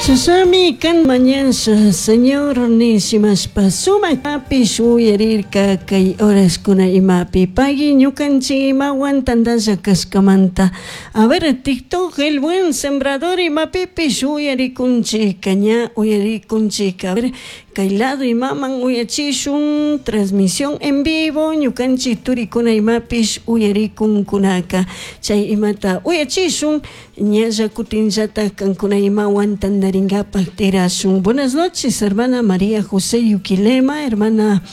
Susami kan mañasha Señor nishimashpa sumakpish uyarirka kay horaskuna imapi pagui ñukanchik imawan tantalla kashkamanta. A ver, TikTok el buen sembrador imapipish uyarikunchik ña uyarikunchik. A ver, kay lado imaman uyachishun transmisión en vivo ñukanchik turikuna imapish uyarikunkunaka chay imata uyachishun ñalla kutinllatak kankuna imawan tantarinkapaq tirashun. Buenas noches, hermana María José Yuquilema, hermana,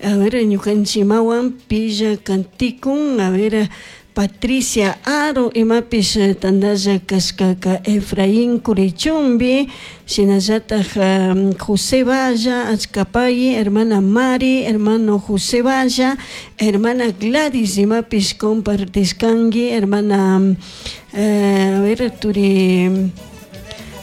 a ver, ñukanchik imawan pilla kantikun, a ver, Patricia Aro imapish tantalla kashkaka Efraín Curichumbi, shinallatak José Valla, Achkapay, hermana Mari, hermano José Valla, hermana Gladys imapish compartishkanki, hermana a ver, turi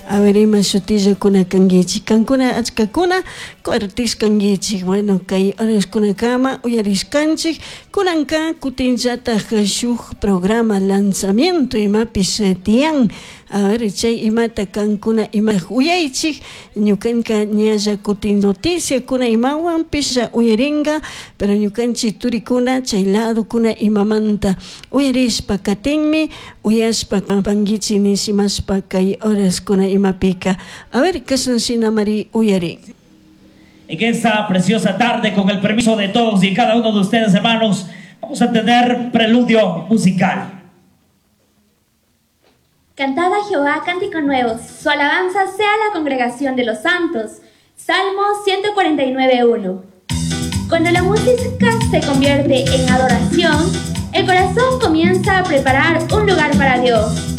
a ver ima shutillakuna kankichik kankuna achkakuna compartishkankichik. Bueno, kay horaskunakama uyarishkanchik kunanka kutinllatak shuk programa lanzamiento imapish tiyan. A ver, chay imata kankuna ima uyaychik ñukanka ñalla kutin noticiakuna imawanpish uyarinka, pero ñukanchik turikuna chay ladokuna imamanta uyarishpa katinmi uyashpa pankichik nishimashpa kay horaskuna imapika. A ver, kashna shinamari uyarin. En esta preciosa tarde, con el permiso de todos y cada uno de ustedes, hermanos, vamos a tener preludio musical. Cantad a Jehová cántico nuevo, su alabanza sea la congregación de los santos. Salmo 149.1. Cuando la música se convierte en adoración, el corazón comienza a preparar un lugar para Dios.